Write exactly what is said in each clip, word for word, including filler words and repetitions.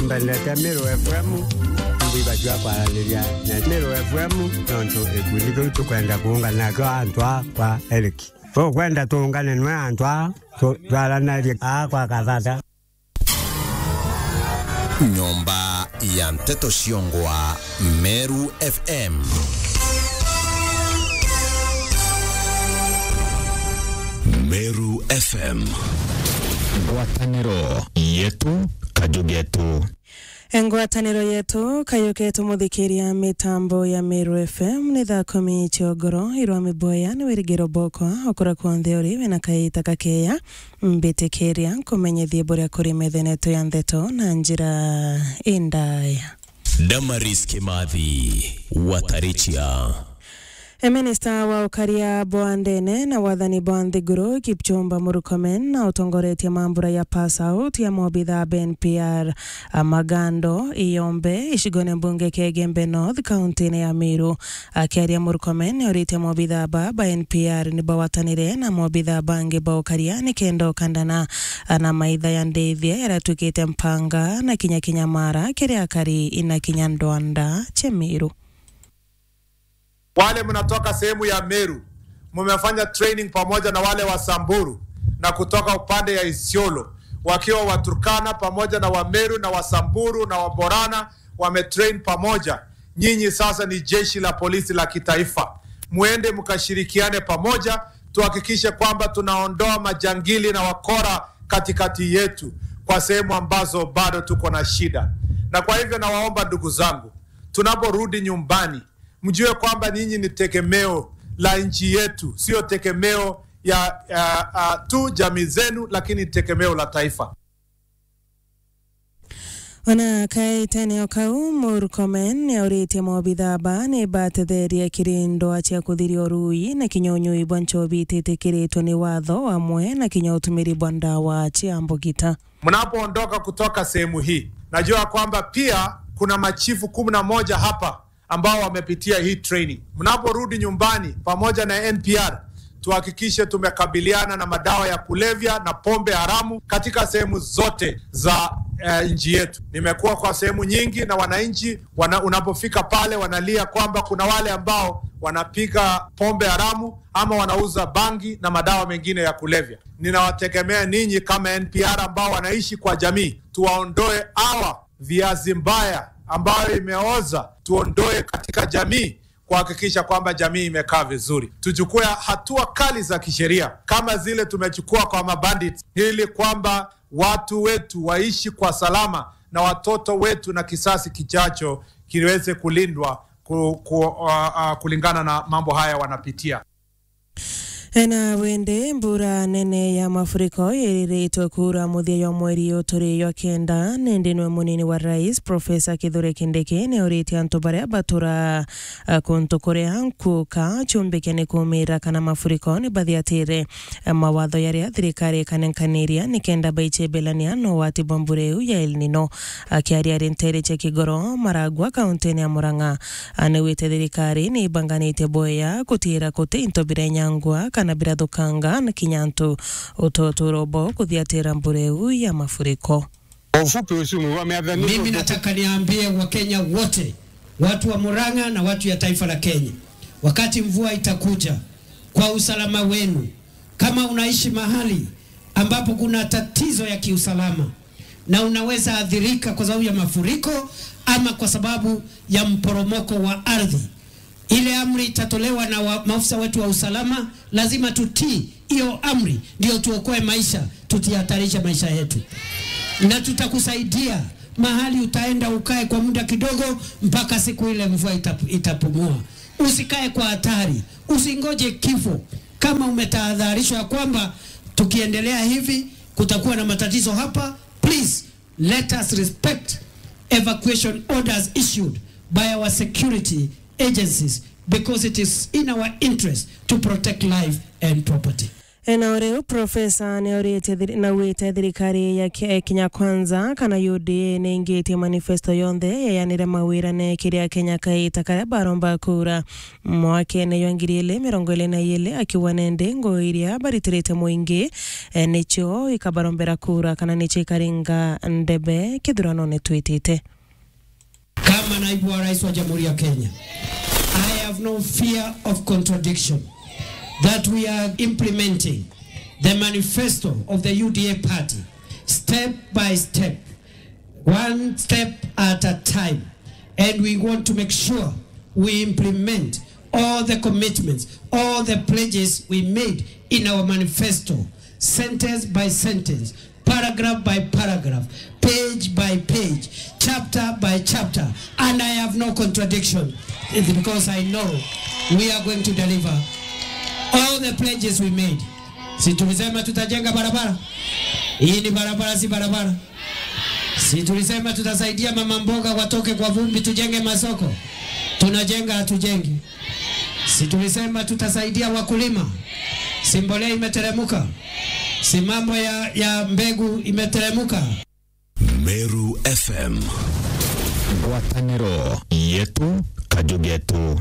Twendete Meru F M, ndibatua kwaraniria na Meru F M, nontu gikundi kiu tukwenda kuungana nakio antu a kwa Eric. Tukwenda tuungane nwe antu a tu-, twaranarie a kwa Kathata. Nyomba ya nteto ciongwa Meru F M. Meru F M. Ngwataniro yetu, kaju getu. Ngwataniro yetu, kaju getu muthikiria mitambo ya Meru F M, ni thaa kumi cia ugoro, irwa miboya ni wirigiro bokwa, okura kwonthe uri wina kaita kakeya, mbitikiria nkumenyithie buria kuri metheneto ya ndeto na njira indaya. Damaris Kimathi, Watarichia. E, minista wa ukaria bwa ndene na wathani bwa nthiguru, Kipchumba Murkomen, na utongoretie mambura ya pass out ya mobitha ba N P R, a Magando, Iyombe, icigone mbunge kia Igembe North, kaunti-ini ya Meru. Akiaria, Murkomen niauritie mobitha ba, ba N P R ni bawatanire na mobitha bangi ba ukaria nikenda ukandana na maitha ya ndithia iria ituikite mpanga na kinya kinya mara kiri akari na kinya ndwanda cia Meru. Wale mnatoka sehemu ya Meru, mmefanya training pamoja na wale wa Samburu na kutoka upande ya Isiolo, wakiwa Waturkana pamoja na Wameru na Wasamburu na Waborana wametrain pamoja. Nyinyi sasa ni jeshi la polisi la kitaifa. Muende mkashirikiane pamoja, tuhakikishe kwamba tunaondoa majangili na wakora katikati yetu kwa sehemu ambazo bado tuko na shida. Na kwa hivyo nawaomba ndugu zangu, tunaporudi nyumbani, mjue kwamba nyinyi ni tegemeo la nchi yetu, sio tegemeo ya, ya, ya tu jamii zenu, lakini tegemeo la taifa. Ona kaitene o kau, Murkomen niauritie mobitha ba ni batetherie kiri ndwaa cia kuthiria urui na kinya unyui bwa nchobi ititikiritwe ni watho, amwe na kinya utumiri bwa ndawa cia mbugita. Mnapoondoka kutoka sehemu hii, najua kwamba pia kuna machifu kumi na moja hapa ambao wamepitia hii training. Mnaporudi nyumbani pamoja na N P R, tuhakikishe tumekabiliana na madawa ya kulevya na pombe haramu katika sehemu zote za, eh, nchi yetu. Nimekuwa kwa sehemu nyingi na wananchi wana-, unapofika pale wanalia kwamba kuna wale ambao wanapiga pombe haramu ama wanauza bangi na madawa mengine ya kulevya. Ninawategemea ninyi kama N P R ambao wanaishi kwa jamii, tuwaondoe hawa viazi mbaya ambayo imeoza, tuondoe katika jamii, kuhakikisha kwamba jamii imekaa vizuri. Tuchukue hatua kali za kisheria kama zile tumechukua kwa mabandits, ili kwamba watu wetu waishi kwa salama na watoto wetu na kisasi kijacho kiweze kulindwa ku-, ku-, uh, uh, kulingana na mambo haya wanapitia. Ena wende, mbura nene ya mafuriko iriritwe kuura muthia jwa mweri uyu turi jwa kenda, nindi nwe munini wa rais, Professor Kithure Kindiki, niauritie antu baria batura, a, kuntu kuria nkuka ciumbike ni kumira kana mafuriko ni bathiatire, a, mawatho jaria thirikari ikanenkaniria nikenda baicebelania na ugwati bwa mbura iu ya El Nino. Akiaria ari nteere cia Kigoro, Maragwa, kaunti-ini ya Murang'a, anigwite thirikari ni ibanganitie bwega gutiira guti into birenyangwa kana birathukanga na kinya antu utotura ubo kuthiatira mbura iu ya mafuriko. Kwa ufupi, usimu wa miathani. Mimi nataka niambie Wakenya wote, watu wa Murang'a na watu ya taifa la Kenya, wakati mvua itakuja, kwa usalama wenu, kama unaishi mahali ambapo kuna tatizo ya kiusalama na unaweza athirika kwa sababu ya mafuriko ama kwa sababu ya mporomoko wa ardhi, ile amri itatolewa na wa-, maafisa wetu wa usalama, lazima tutii hiyo amri, ndio tuokoe maisha, tutihatarishe maisha yetu. Na tutakusaidia mahali utaenda ukae kwa muda kidogo mpaka siku ile mvua itap-, itapumua. Usikae kwa hatari, usingoje kifo. Kama umetahadharishwa ya kwamba tukiendelea hivi kutakuwa na matatizo hapa, please, let us respect evacuation orders issued by our security agencies, because it is in our interest to protect life and property. Ena o riu, Profesa ni auritie thiri-, na augite thirikari ya Ke-, Kenya Kwanza kana U D A ni ingitie manifesto yonthe yeyanire mawirane kiri Akenya kaita karia baromba kura mwakene jwa ngiri ili mirongo ili na ili, akiuga nende ngui iria baritirite mwingi, eh, nicio ikabarombera kura kana nicio ikaringa ndebe kithuranone twitite. Kama naibu wa rais wa Jamhuri ya Kenya, I have no fear of contradiction that we are implementing the manifesto of the U D A party step by step, one step at a time, and we want to make sure we implement all the commitments, all the pledges we made in our manifesto, sentence by sentence, paragraph by paragraph, page by page, chapter by chapter, and I have no contradiction. It's because I know we are going to deliver all the pledges we made. Si tulisema tutajenga barabara? Hii ni barabara, si barabara? Si tulisema tutasaidia mama mboga watoke kwa vumbi, tujenge masoko? Tunajenga, hatujengi? Si tulisema tutasaidia wakulima? Si mbolea imeteremuka? Si mambo ya, ya mbegu imeteremuka? Meru F M. Ngwataniro yetu, kaju getu.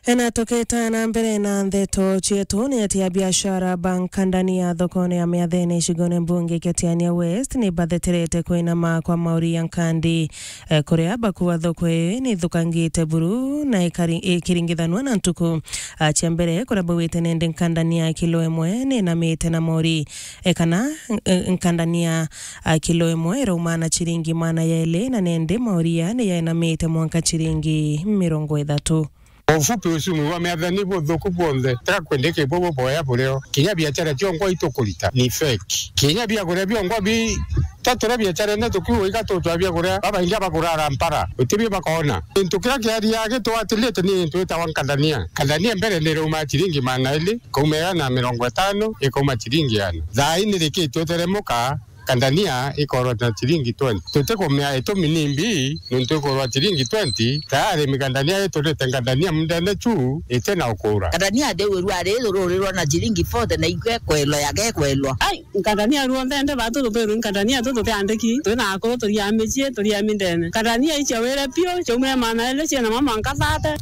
Ena tukita na mbere na ndeto cietu, ni ati abiashara ba nkandania thokone ya Miathene icigone mbunge kia Tiania West ni batheterete kwinama kwa mauri ya nkandi, eh, kuria bakuwa thoko ii ni ithukangite buru na ikari-, ikiringithanua na ntuku, ah, cia mbere, kuria baugite nende nkandania kilo imwe ni inamite na mauri, eh, kana, eh, nkandania, ah, kilo imwe irauma na ciringi maana yaili, na nende mauri ya ni yainamite mwanka ciringi mirongo ithatu. Kwa ufupi, uchumi wa Miathene ni buthuku bwonthe, tiga kwendeke bwo buboya burio. Kinya biachara cionkwa itukurita ni fake. Kinya biakuria bionkwa bi, taturia biacharene tukiuga iga tutwa biakuria, babaingi abagurara mpara, utibio bakona. Gintu kiria kiaria gitwatilite ni gintu gitagwa nkandania. Nkandania mbere ni irauma ciringi maana ili, ikauma igana na mirongo itano, ikauma ciringi igana. Thaa ii ni rikitwe teremuka, nkandania ikorwa na ciringi twenty. Tutikumea itumi ni mbii, nontu ikorwa ciringi twenty, tayari mikandania iturite nkandania mundene chu iti na ukura. Nkandania ndi wirua ari rurirwa na ciringi forty na ikwe kwelwa ya gekwelwa. Ai, nkandania ruonthe nde batu tutwirwe nkandania tu tutiandiki, twina akuru turia micii, turia mindene. Nkandania icia wire piu, ciaumire maana ili ciina mama nkabate.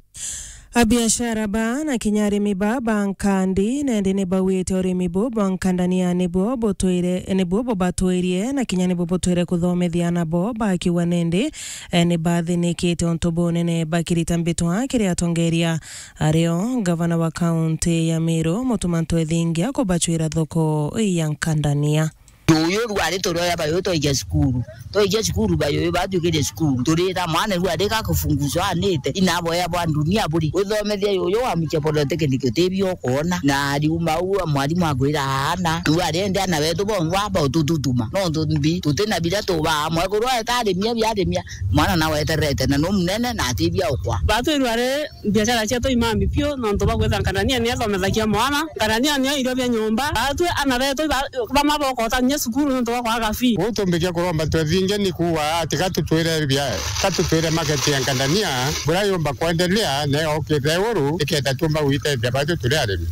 Abiashara ba na kinya arimi ba ba nkandi, nende ni baugite urimi bu bwa nkandania nibuo butwire, nibuo bubatwirie, na kinya nibuo butwire kuthomethia anabo, bakiuga nende, eh, ni bathinikite untu bunene bakirita mbitwa kiri atongeria ario ngavana wa kaunti ya Meru, Mutuma Ntwethingia, kubacwira thoko ya nkandania. Yuyu rwari turioya bayuyu twaikia cukuru. Twaikia cukuru bayuyu batwikire cukuru. Turira mwana rwari gakufunguzwa anite. Inaboya bwa dunia buri. Uthomethia yuyu wa muche polytechnic utibio ukwona. Na riuma u mwarimu akwira aana. Rwari ende ana betu bongwa aba utututuma. Nontu mbi tutina biria tubaa mwekuru aeta arimia biarimia. Mwana nawe eterete na nu munene na atibia ukwa. Batwirwa ri biashara cietu imambi piu, nontu bwa kwitha nkandania ni ethomethagia mwana, nkandania nio irio bia nyomba. Batwi ana betu ba-, bamwe bokota kinya cukuru nontu bwa kwaga fee. Uu tumbikia kuromba twethinge ni kuuga ati ka tutwire bia-, ka tutwire market ya nkandania, buria yumba kwendelea, na yokite iguru, ikenda tumba gwitethia batu turi arimi.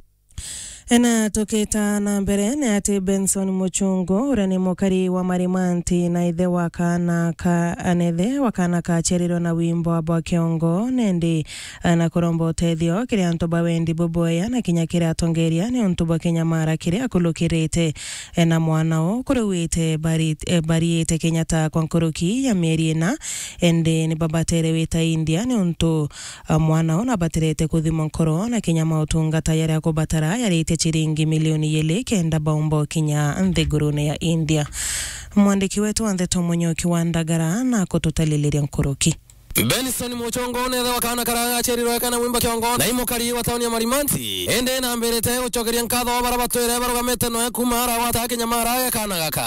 Ena tukita na mbere ni ati Benson Muchungu, uria ni mukari wa Marimanti na ithe wa kaana ka, na ithe wa kaana kaciarirwe na wimbo bwa kiongo, nendi, eh, na kuromba utethio kiri antu ba wendi bubwea na kinya kiri atongeria ni untu bwa kinyamara kiria akulukirite, eh, na mwana u kuriwite bari-, eh, bariite kinya ta kwa nkuruki ya mieri ina, endi ni babatere wita India ni untu Ah, mwana ona abaterete kuthimwa nkoro na kinya mautungata jaria akubatara jaritie ciringi milioni ijiri kenda baumba ukinya nthigurune ya India. Mwandiki wetu wa ndeto Munyoki wa Ndagara na kututaliliria nkuruki. Benson Muchongo ni ithe wa kaana karia gaciarirwe kana mwimba kiongo na imukari wa tauni ya Marimanti. Indi nambirite gucokeria nkatho baria batwire barugamite noe kuuma ara gwata kinyamara ya kaana gaka.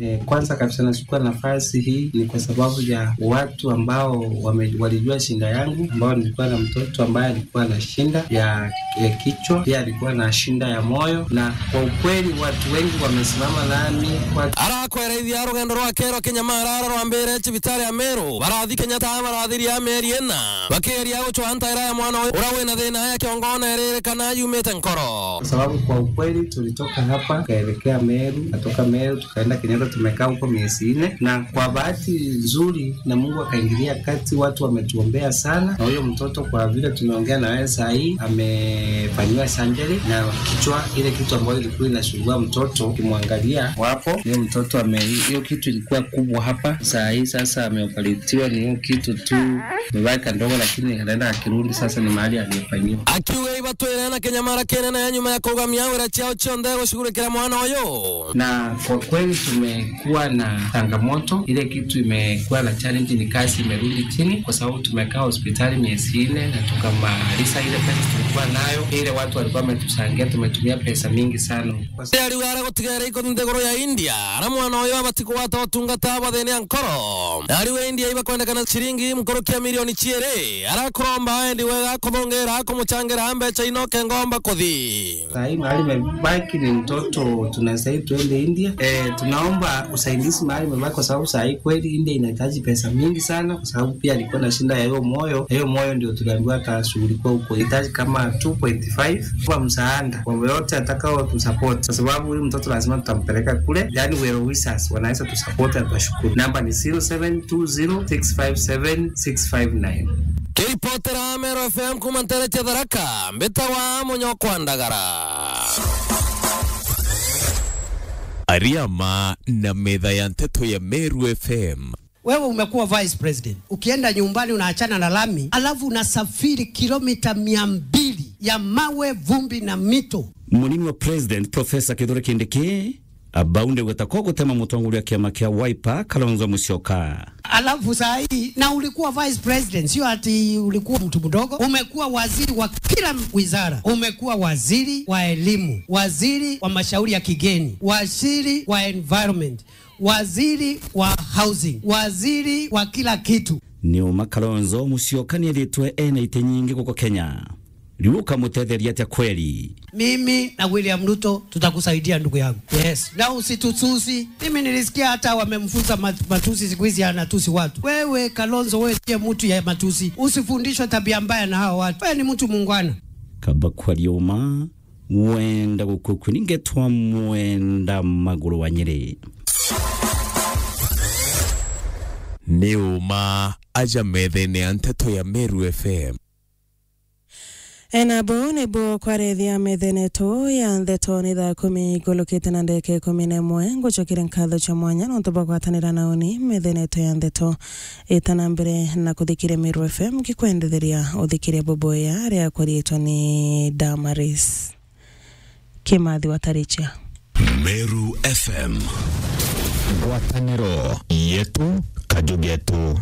Eh, kwanza kabisa nashukuru nafasi hii ni kwa sababu ya watu ambao wame-, walijua shida yangu, ambao nilikuwa na mtoto ambaye alikuwa na shida ya, ya kichwa, pia alikuwa na shida ya moyo, na kwa ukweli watu wengi wamesimama nami kwa Arakwereithia rugendo rwake rwa kinyamara rwambire cibitari ya Meru, barathi Kenyatta bara Athiri ya mieri ina, bakigeria gucwa ntaira ya mwana uyu uria wina thina ya kiongo na iririkana yumite nkoro. Kwa sababu kwa ukweli tulitoka hapa, tukaelekea Meru, kutoka Meru tukaenda Kenyatta, tumekaa huko miezi nne, na kwa bahati nzuri na Mungu akaingilia kati, watu wametuombea sana, na huyo mtoto kwa vile tumeongea na wewe saa hii amefanyiwa surgery na kichwa, ile kitu ambayo ilikuwa inasumbua mtoto, ukimwangalia wapo, huyo mtoto ame-, hiyo kitu ilikuwa kubwa hapa, saa hii sasa ameoperatiwa, ni hiyo kitu tu imebaki kadogo, lakini anaenda akirudi, sasa ni mahali aliyefanyiwa. Akiuga ibatwire na kinyamara kinene nyuma ya kugamia wira ciao cionthe gushughulikira mwana uyu. Na kwa kweli tumekuwa na changamoto, ile kitu imekuwa na challenge ni kazi imerudi chini, kwa sababu tumekaa hospitali miezi nne na tukamaliza ile pesa tulikuwa nayo, ile watu walikuwa wametuchangia, tumetumia pesa mingi sana. Ariuga ara gutigere iko nthiguru ya India, ara mwana uyu abati kugwata utungata bwa thina ya nkoro. Ariuga India ibakwendekana ciringi nkuruki ya milioni ciiri, ara kuromba endi wega kuthungira kumuchangira mbecha ino kengomba kuthi. Saa hii mahali imebaki ni mtoto, tunastahili tuende India. Eh, tunaomba usaidizi mahali imebaki, kwa sababu saa hii kweli India inahitaji pesa mingi sana, kwa sababu pia alikuwa na shida ya hiyo moyo. Hiyo moyo ndio tuliambiwa atashughulikiwa huko. Inahitaji kama two point five kwa msaada. Kwa yote atakao tu support, kwa sababu huyu mtoto lazima tutampeleka kule. Yani, well wishers wanaweza tu support, na tutashukuru. Namba ni zero seven two zero six five seven six five nine. Kiripotera Meru F M kuma ntere cia Tharaka, mbitagwa Munyokwa Ndagara. Ariama na metha ya nteto ya Meru F M. Wewe umekuwa vice president. Ukienda nyumbani unaachana na lami, alafu unasafiri kilomita mia mbili ya mawe, vumbi na mito. Munini wa president, Professor Kithure Kindiki, abaunde gweta kwa gutema mutongoria wa kiama kia Wiper, Kalonzo Musyoka. Alafu saa hii, na ulikuwa vice president, sio ati ulikuwa mtu mdogo. Umekuwa waziri wa kila wizara. Umekuwa waziri wa elimu, waziri wa mashauri ya kigeni, waziri wa environment, waziri wa housing, waziri wa kila kitu. Ni uma Kalonzo Musyoka ni ethitwe ena ite nyingi guku Kenya. Riu ukamutetheria atia kweli? Mimi na William Ruto tutakusaidia, ndugu yangu. Yes. Na usitutusi. Mimi nilisikia hata wamemfunza mat-, matusi, siku hizi anatusi watu. Wewe, Kalonzo, wewe ndiye mtu ya matusi. Usifundishwe tabia mbaya na hawa watu. Wewe ni mtu muungwana. Kaba kwaria uma, wenda gukukuni ngetwa Mwenda Maguru wa Nyeri. Ni uma aja methene ya nteto ya Meru F M. Ena buu nibuo kwarethia methene yetu ya nteto. Ni thaa kumi igulukite na ndagika ikumi na imwe. Ngucokere nkatho cia mwanya nontu bwa gwatanira na uni methene yetu ya nteto. Ita na mbere na kuthikiria Meru F M, ngikwendetheria uthikiria bubuya riakwa riitwa ni Damaris Kimathi wa Tarichia. Meru F M. Ngwataniro yetu, kaju getu.